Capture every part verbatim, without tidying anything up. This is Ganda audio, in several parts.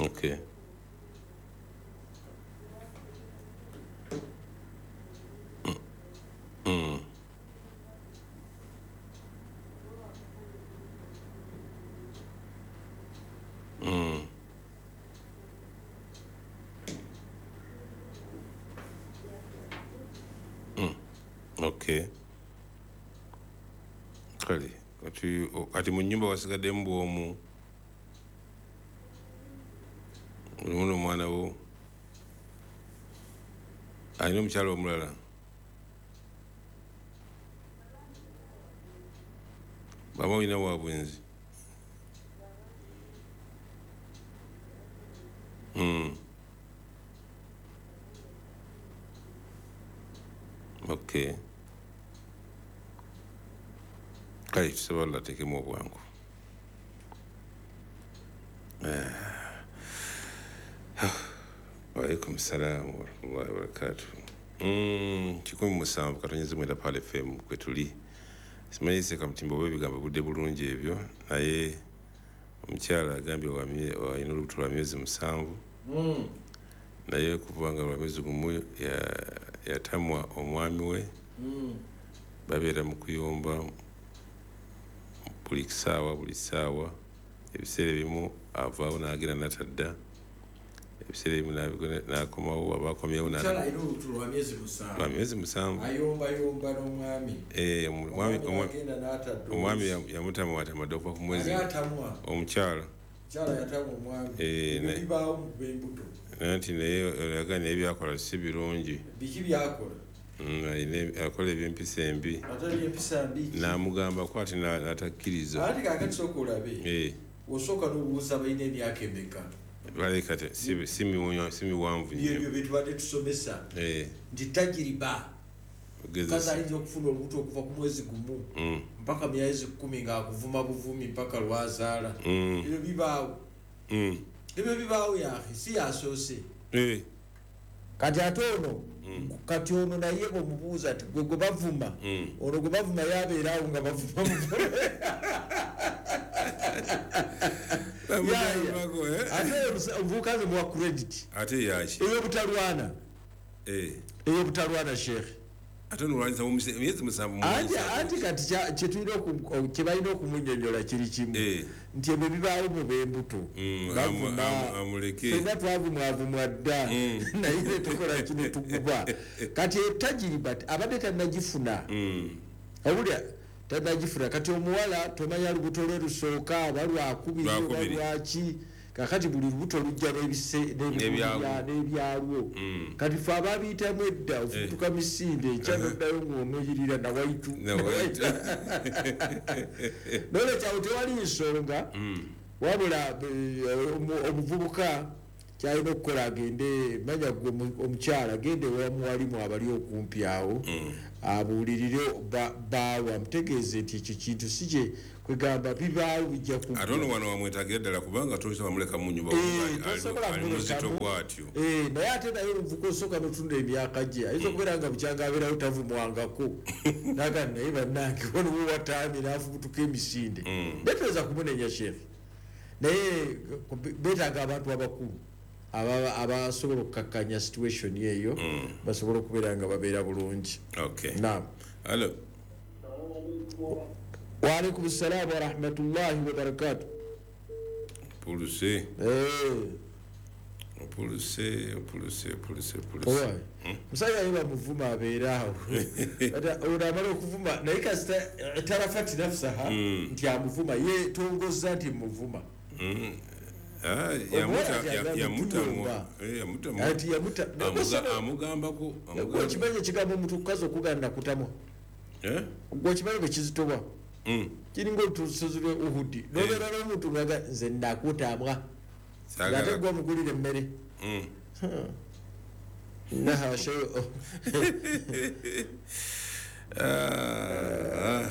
Okay. Mm. Mm. Mm. Okay. Kale kati kati mu nnyumba wasigaddemu bw'omu olimu n'omwana wo alina omukyala omulala baba olina wa bwenzi. Mm. Okay. Kale tusaba Allah ateekemu obwangu. Waalaikum salaam warahmatullahi wabarakatuh. Mm, kikumi musanvu katonyeze mwenda Pearl F M kwe tuli. Simanyi Ssekamtimba oba ebigambo budde bulungi ebyo, naye omukyala agambye alina olubuto lwa myezi musanvu. Mm. Naye okuva nga lwa myezi gumu yatamwa omwami we. Mm. Babeera mu kuyomba buli ssaawa buli ssaawa. Ebiseera ebimu avaawo n'agenda n'atadda, ebiseera ebimu n'akomawo aba akomyewo Omukyala alina olubuto lwa myezi musanvu. Lwa myezi musanvu. Ayombayomba n'omwami. Eh, omwami Omwami agenda n'atadda. Omwami yamutamwa atamadde okuva ku mwezi. Ani atamwa? Omukyala. Omukyala yatamwa omwami. Eh, Ebyo naye bibaawo mu b'embuto. Anti naye oyagala naye by'akola si birungi. Biki by'akola? Mm, alina akola eby'empisa embi. Ate eby'empisa mbi ki? N'amugambako ate n'atakkiriza. Ate kaakati sooka olabe. Eh. Osooka n'obuuza balina emyaka emeka? Baleka te, si, si miwunya, si miwanvu nnyo. Byebyo bye tubadde tusomesa. Eh. Nti tajiriba. Ogezesa. Mukazi ayinza okufuna olubuto okuva ku mwezi gumu Mm. mpaka myezi kkumi ng'akuvuma buvumi mpaka lw'azaala. Mm. Ebyo bibaawo. Mm. Ebyo bibaawo yaakhe, si yasoose. Eh. Kati ate ono, Mm. kati ono naye omubuuza nti gwe gwe bavuma. Mm. Ono gwe bavuma yabeera awo nga bavuma buvuma. Bamugambako, eh? Ate omuvubuka nze muwa credit. Ate yaki? Ey'obutalwana. Eh. Ey'obutalwana, Sheikh. Ate nolwanyisa mu mise-, emyezi musanvu mu Anti, musanvu. anti kati kya-, kye tulina oku-, kye balina okumunnyonnyola kiri kimu. Eh. Nti ebyo bibaawo mu b'embuto. Mm, Bavuma. amu-, amu-, amuleke. Ffenna twavumwavumwa dda. Mm. Naye ne tukola kino tuguba. Kati etajiriba abadde tannagifuna. Mm. Owulira? Tannagifuna. Kati omuwala tomanya lubuto lwe lusooka, oba lwakubiri, oba Lwakubiri. lwaki. Kakati buli lubuto lujja n'ebise-, N'ebyalwo. n'ebyalwo. Mm. Kati ffe abaabiyitamu edda, ofutuka misinde, enkya Uh-huh. n'oddayo ng'onoyirira nawaitu. Nawaitu. N'olwekyo awo tewali nsonga, Mm. wabula, eh, omu-, omuvubuka ky'alina okukola agende, manya gwe omu-, omukyala agende ewa muwalimu abali okumpi awo, Mm. abuulirire ba-, bbaawe, amutegeeze nti ekyo kintu si kye kwegamba bibaawo bijja kujja. Ate ono wano wamwetaagira ddala kubanga tosobola muleka mu nnyumba Eh, kubanga ali-, tosobola ali muzito kumulekamu. bw'atyo. Eh, naye ate naye omuvubuka osooka n'otunda emyaka gye, ayinza okubeera nga bukyanga abeerawo tavumwangako. N'agamba naye bannange wano we wataamye n'afubutuka emisinde. Mm. Naye toyinza kumunenya, Sheikh. Naye beetaaga abantu abakulu aba-, abasobola okukakkanya situation eyo, Mm. basobole okubeera nga babeera bulungi. Okay. Naam. Hello. Wa alaikum salaam wa rahmatullahi wa barakatuh. Puluse. Eh. Puluse, puluse, puluse, puluse. Owa. Hmm? Musajja ye bamuvuma abeera awo. Ata ono amala okuvuma naye kasita tarafati nafsaha Hmm. nti amuvuma ye tongoza nti muvuma. Hmm. Ah, Omuwala yamuta, ati agamba yamuta, tuyomba. eh, yamuta. Ati yamuta. Amuga-, Nakusaba- amugambako, Gwe amugamba. okimanyi ekigambo omuntu okukazi okugaana kutamwa? Eh? Gwe okimanyi bwe kizitowa? Mm. Kiringa olusozi lwe Uhudi. Eh. N'obeera n'omuntu ng'aga, nze nakutamwa. Saagala. Ng'ate gwe omugulira emmere. Mm. Huh. Naha, show. Ah,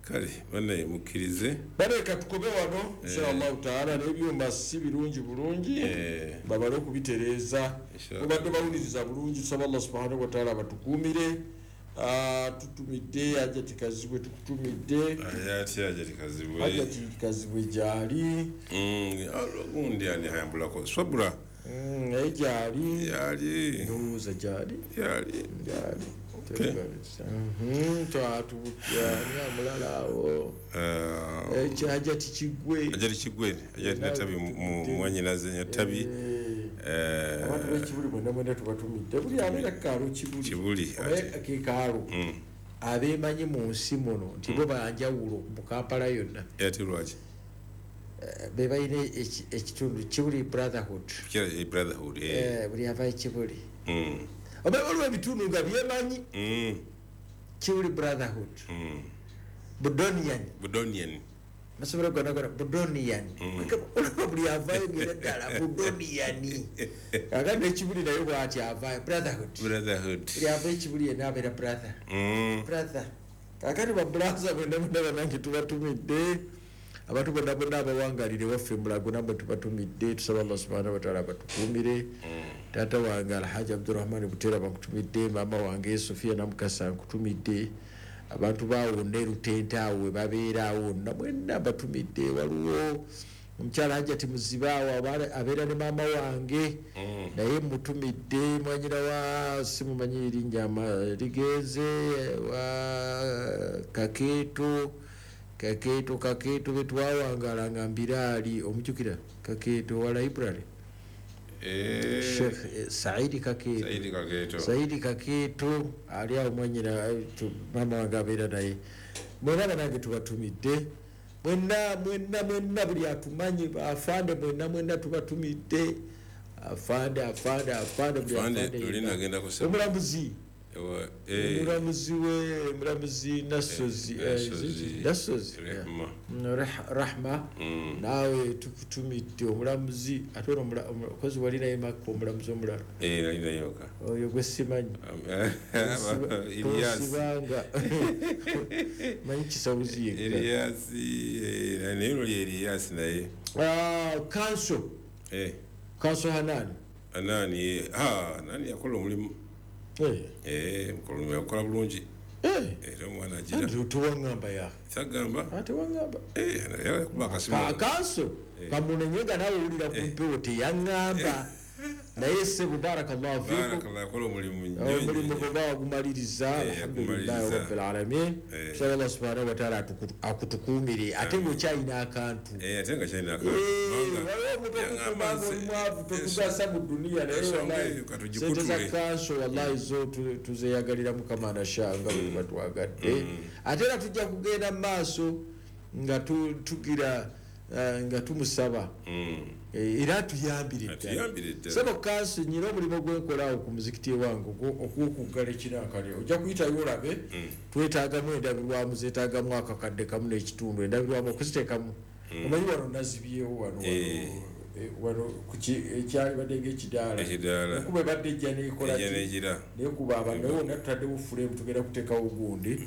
kale, bannaye mukkirize. Baleka tukobe wano, Eh. inshallah taala, n'ebyuma si birungi bulungi, Eh. babale okubitereeza. Inshallah. Mubadde bawuliriza bulungi, tusaba Allah subhanahu wa taala abatukuumire, Tutumidde Hajati Kazibwe, tukutumidde Hajati Hajati Kazibwe, Hajati Kazibwe gyali gundi ani ayambulako Swabura naye gyali gyali ndowooza gyali gyali gyali twatubutani omulala awo Hajati Kigwe, Hajati Kigwe, Hajati Natabi mwanyinaze Natabi. Abantu b'Ekibuli bonna mwena tubatumidde, buli abeera kukaalo Kibuli ke kaalo abeemanyi mu nsi muno nti bo banjawulo mu Kampala yonna. Ate lwaki? Be balina ekitundu Kibuli Brotherhood, buli ava Ekibuli oba waliwo ebitundu nga byemanyi Kibuli Brotherhood, Budonian, Budonian masomero gonna gonna Budonian, olaba buli avaayo ngera ddala Budoniani. Kakati Ekibuli naye bw'ati avaayo Brotherhood, Brotherhood, buli ava Ekibuli yenna abeera brother, brother. Kakati ba brother bonna bonna bannange tubatumidde, abantu bonna bonna abawangalire waffe Mulago nammwe tubatumidde, tusaba Allah subhanahu wa ta'ala abatukuumire. Taata wange Alhaji Abdurrahman Butera bakutumidde, maama wange Sofia Namukasa nkutumidde, abantu baawonna erutente awo we babeera awo wonna mwenna batumidde. Waliwo omukyala Hajati Muzibe awo abeera ne maama wange naye mutumidde, mwanyina wa simumanyi erinnya ligenze wa Kakeeto, Kakeeto Kakeeto betwawangala nga Mbiraali, omujjukira Kakeeto wa library Sheikh Saidi Kakeeto, Saidi Kakeeto, Saidi Kakeeto ali awo mwanyina maama wange abeera naye. Mwena banange tubatumidde mwenna mwenna mwenna buli atumanyi afande mwenna mwenna tubatumidde, afande afande afande buli afande. Omulamuzi omulamuzi we omulamuzi Nassozi, Nassozi Rahma naawe tukutumidde omulamuzi. Ate ono omukozi wali naye Makka omulamuzi omulala oyo gwe simanyi tosibanga manyi kisawuzi yekka kanso kanso Hanani, Hanani Hanani yakola omulimu Eh, mukolo yakola bulungi. Eh, era omwana agira. Tuwangamba ya. Sagamba. Tewangamba. Eh, naye kuba akasimu. Kanso kamunenye nawe owulira ku mpewo teyaŋŋamba. Naye ssebo barakallahu fiikum. Barakallahu yakola omulimu nnyo. Omulimu gwe bagumaliriza alhamdulillahi rabbil alamin. Tusaba Allah subhanahu wa ta'ala akutukuumire ate ng'okyalina akantu. Eh, ate nga kyalina akantu. Waliwo omuntu okukuuma ng'omwavu totugasa mu duniya naye wallahi sente za kanso wallahi zo tuzeeyagalira Mukama nasha nga bwe tuba twagadde. Ate era tujja kugenda mu maaso nga tugira nga tumusaba era tuyambire ddala. Sebo kanso nyina omulimu gwenkolaawo ku muzikiti ewange ogw'okuggala ekinankani ojja kuyitayo olabe twetaagamu endabirwamu zeetaagamu akakadde kamu n'ekitundu endabirwamu okuziteekamu omanyi wano nazibyewo wano wano ekyalibadde ng'ekidaala ekuba ebadde ejja neekola nekuba abantu naye wonna tutaddewo fuleemu tugenda kuteekawo gundi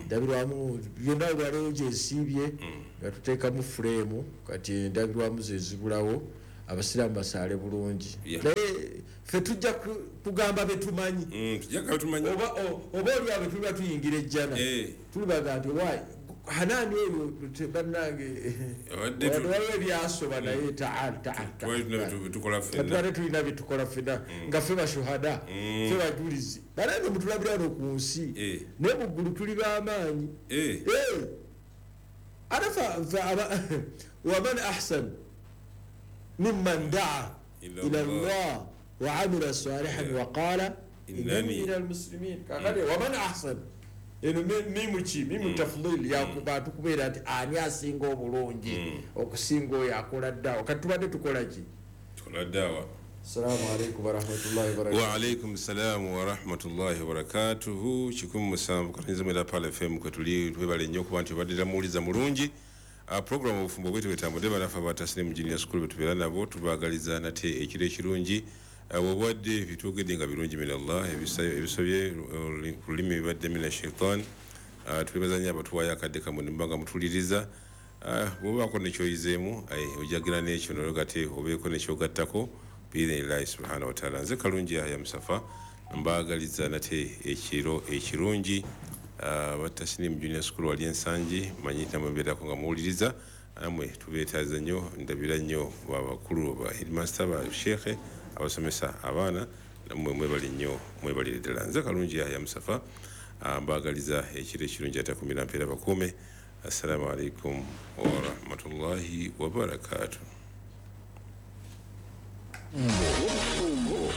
ndabirwamu byonna olwaleero gyesiibye nga tuteekamu fuleemu kati endabirwamu zezibulawo abasiraamu basaale bulungi. Naye ffe tujja kugamba betumanyi oba oli abo tuliba tuyingira ejjana tulibaga nti why Hanani oyo bannange waliwo ebyasoba naye taal taal taal tulina byetukola ffenna nga ffe bashuhada ffe bajulizi banaye mutulabira wano ku nsi naye mu ggulu tuli b'amaanyi. Ate waman ahsan mimman daa ila Allah wa amila salihan wa qala innani min almuslimin. Kakati waman ahsan eno mimu ki mimu tafdhil yakubantu kubeera nti ani asinga obulungi okusinga oyo akola ddawa. Kati tubadde tukola ki? Tukola ddawa. Assalamu alaikum warahmatullahi wabarakatuh. Wa alaikum salam wa rahmatullahi wa barakatuhu. Kikumi musanvu katonnyeza mwenda Pearl F M kwe tuli twebale nnyo okuba nti obaddira muwuliza mulungi. Uh, program obufumbo bwetu bwetambudde banafe abatasine mu junior school betubeera nabo tubaagaliza nate ekiro ekirungi. Obwadde bitwogedde nga birungi min Allah, ebisobye ku lulimi bibadde mina shaitan. Twebaza nnyo abatuwaayo akadde kammwe ne muba nga mutuliriza. Bw'obaako ne ky'oyizeemu ojagira n'ekyo nolwo gate obeeko ne ky'ogattako biidhnillahi subhanahu wa taala. Nze Kalungi Yahya Musafa Mbaagaliza nate ekiro ekirungi. Aba Tasnim Junior School wali Ensangi, manyi namwe nga muwuliriza, namwe tubeetaaza nnyo, ndabira nnyo babakulu ba headmaster, ba sheikh abasomesa abaana, namwe mwebale nnyo, mwebalire ddala. Nze Kalungi Yahya Musafa, mbaagaliza ekiro ekirungi atakumira mpeera bakuume. Assalamu alaikum wa rahmatullahi wa barakatuh.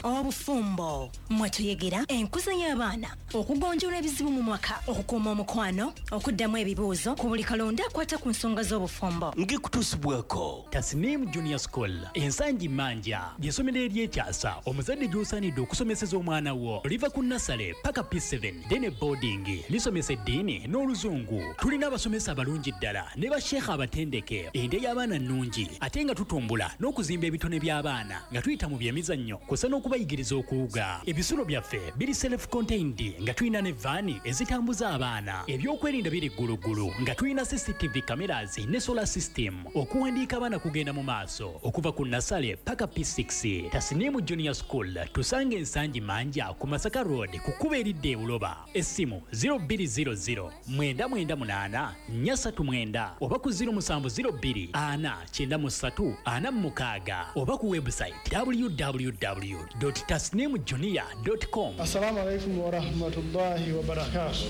Obufumbo mwetuyegera enkuza y'abaana, okugonjoola ebizibu mu mwaka, okukuuma omukwano, okuddamu ebibuuzo ku buli kalonda akwata ku nsonga z'obufumbo. Ngikutuusibwako Tasnim Junior School Ensangi Manja, ly'essomero ery'ekyasa omuzadde gy'osaanidde okusomeseza omwana wo. Liva ku nasale paka P seven dene boarding, lisomesa eddiini n'oluzungu. Tulina abasomesa abalungi ddala ne basheekha abatendeke. Endya y'abaana nnungi ate nga tutumbula n'okuzimba ebitone by'abaana nga tuyita mu byemizannyo kw'ossa n'okubayigiriza okuwuga. Ebisulo byaffe biri self contained nga tulina ne vaani ezitambuza abaana. Ebyokwerinda biri gguluggulu nga tulina C C T V cameras ne solar system. Okuwandiika abaana kugenda mu maaso okuva ku nasale paka P six. Tasnim Junior School tusange Ensangi Manja ku Masaka Road ku kkubo eridda e Buloba. Essimu zero bbiri zero zero mwenda mwenda munaana nnya ssatu mwenda oba ku zero musanvu zero bbiri ana kyenda mu ssatu ana mu mukaaga oba ku website w w w dot tasnim junior dot com. Assalamu alaikum wa rahmatullahi wa barakatuh.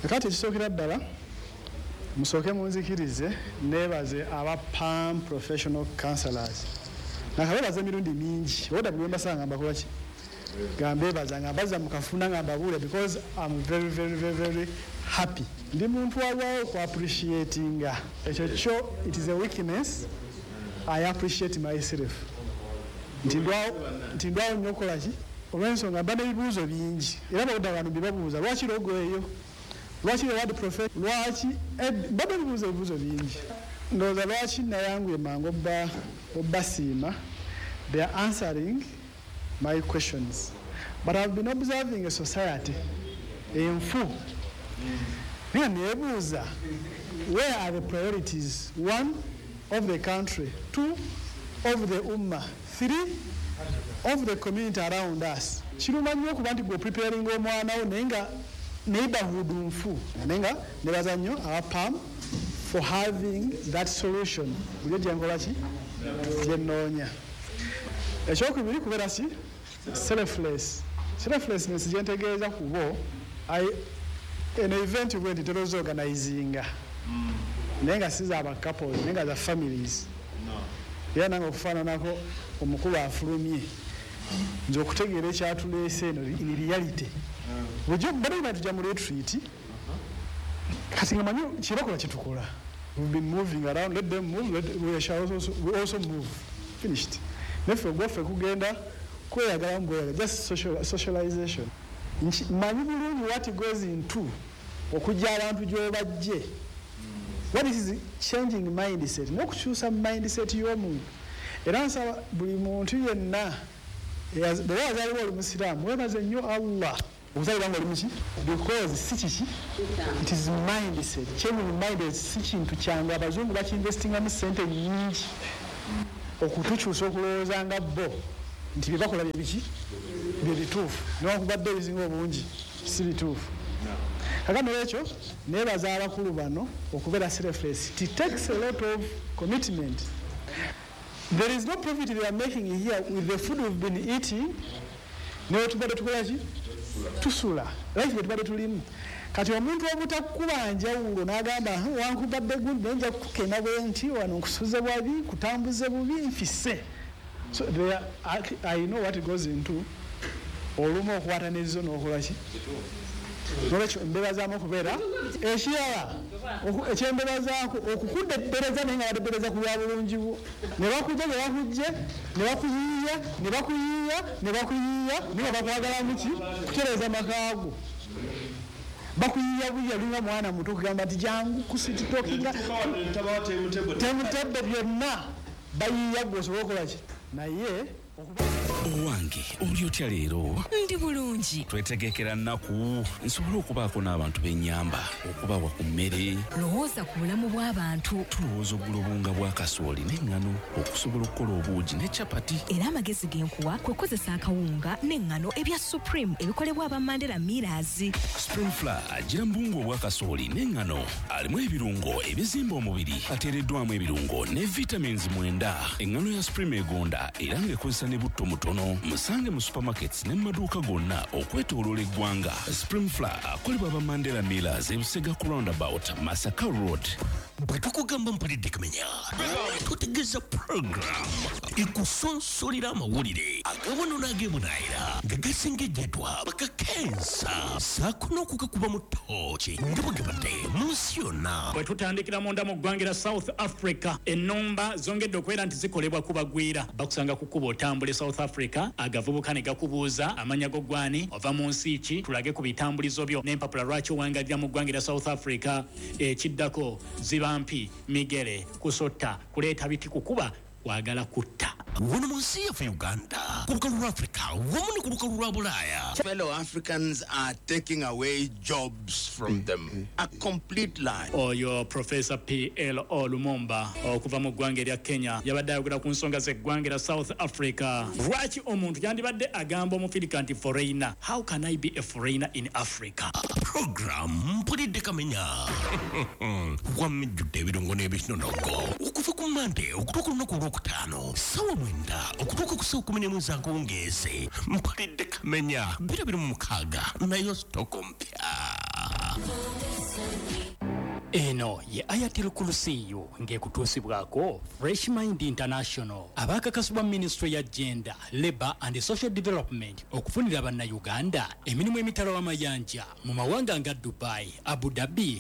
Kati ekisookera ddala musooke munzikirize neebaze aba PAM Professional Counselors. Nakabeebaza emirundi mingi, oda bwe mbasanga mbakola ki? Nga mbeebaza nga mbazza mu kafuna nga mbabuulira because I'm very very very very happy. Ndi muntu alwawo ku appreciatinga. Ekyo kyo it is a weakness. I appreciate myself. Nti ndwawo nnyo okukola ki? Olw'ensonga mba n'ebibuuzo bingi era bawudde abantu mbibabuuza lwaki logo eyo, lwaki word prophet, lwaki mba n'ebibuuzo ebibuuzo bingi. Ndowooza lwaki nayanguye mangu obbasiima. They are answering my questions, but I've been observing a society enfu naye neebuuza where are the priorities? One, of the country, two, of the ummah, three, of the community around us. Kiruma nnyo okuba nti gwe preparing omwana wo naye nga neighborhood nfu, naye nga nebaza nnyo aba PAM for having that solution. Bulijjo gye nkola ki? Gye nnoonya. Ekyokubiri kubeera ki? Selfless. Selflessness gye ntegeeza ku bo, eno event bwe nti tolowooza organizinga naye nga si za ba couples naye nga za families. Era nange okufaananako omukulu afulumye nze okutegeera ekyatuleese eno in reality. Bulijjo badde tujja mu retreat kati nga manyi kyebakola kyetukola. We've been moving around, let them move, let, we shall also, we also move. Finished. Neffe ogwaffe kugenda kweyagala mu bweyagala, just social, socialization. Manyi bulungi what goes into okujja abantu gy'obajje. What is changing mindset? N'okukyusa mindset y'omuntu. Era nsaba buli muntu yenna bw'oba wazaalibwa oli musiraamu weebaze nnyo Allah okuzaalibwa nga oli muki? Because si kiki? It is mindset. Changing mindset si kintu kyangu. Abazungu bakiinvestingamu ssente nnyingi okutukyusa okulowooza nga bo nti bye bakola bye biki? Bye bituufu. Newankubadde ebisinga obungi si bituufu. Kakano ekyo neebaza abakulu bano okubeera selfless. It takes a lot of commitment. There is no profit they are making here with the food we've been eating. Naye tubadde tukola ki? Tusula. Life gye tubadde tulimu. Kati omuntu obutakuba njawulo n'agamba wankubadde gundi naye nja kukukema bwe nti wano nkusuze bwabi, kutambuze bubi, nfisse. So there are, I know what goes into olumu okukwata n'ezizo n'okola ki? Nolwekyo mbebazaamu okubeera ekirala ekyembebazaako okukuddebereza naye nga baddebereza ku lwa bulungi bwo. Ne bakujja ne bakujje ne bakuyiiya ne bakuyiiya ne bakuyiiya naye nga bakwagalamu ki? Kutereeza makaago. Bakuyiiya buyiiya olinga mwana muto okugamba nti jangu kusititokinga temutebbe byonna bayiiya gwe osobola okukola ki? Naye okuba Owange, oli otya leero? Ndi bulungi. Twetegekera nnaku nsobole okubaako n'abantu b'ennyamba, okubawa ku mmere. Lowooza ku bulamu bw'abantu. Tulowooza ogula obuwunga bwa kasooli n'eŋŋano okusobola okukola obuugi ne capati. Era amagezi ge nkuwa kwe kukozesa akawunga n'eŋŋano ebya Supreme ebikolebwa aba Mandela Millers. Supreme Flour agira mu buwunga obwa kasooli n'eŋŋano, alimu ebirungo ebizimba omubiri, ateereddwamu ebirungo ne vitamins mwenda. Eŋŋano ya Supreme egonda era ng'ekozesa ne butto mutono. Musange mu supermarkets ne mu maduuka gonna okwetooloola eggwanga. Supreme Flour akolebwa aba Mandela Millers, Ebusega ku roundabout, Masaka Road. Bwe tukugamba Mpulidde Kamenya, tutegeeza program ekusonsolera amawulire agawano n'ag'ebunaayira nga gasengejjeddwa bakakensa saako n'okugakuba mu ttooki nga bwe gabadde mu nsi yonna. Bwe tutandikira munda mu ggwanga lya South Africa, ennumba zongedde okubeera nti zikolebwa ku bagwira. Bakusanga ku kkubo otambula e South Africa, agavubuka ne gakubuuza amannya go gwani, ova mu nsi ki, tulage ku bitambulizo byo n'empapula lwaki owangalira mu ggwanga lya South Africa. Ekiddako ziba mpi, migere, kusotta, kuleeta biti, kukuba, kwagala kutta. Wano mu nsi yaffe Uganda, ku lukalu lwa Africa wamu ne ku lukalu lwa Bulaaya. Fellow Africans are taking away jobs from them. A complete lie. Oyo Professor P L O Lumumba okuva mu ggwanga erya Kenya yabadde ayogera ku nsonga z'eggwanga erya South Africa. Lwaki omuntu yandibadde agamba omufirika nti foreigner? How can I be a foreigner in Africa? Program Mpulidde Kamenya wamejjudde ebirungo n'ebinonogo okuva ku Mande okutuuka olunaku olwokutaano ssaawa mwenda okutuuka ku ssaawa kkumi n'emu ez'akawungeezi. Mpulidde Kamenya bbiri abiri mu mukaaga, nayo sitoko mpya. Eno ye Ayatul Kursiyu ng'ekutuusibwako Fresh Mind International, abaakakasibwa Ministry ya Gender, Labour and Social Development okufunira Bannayuganda emirimu emitala w'amayanja mu mawanga nga Dubai, Abu Dhabi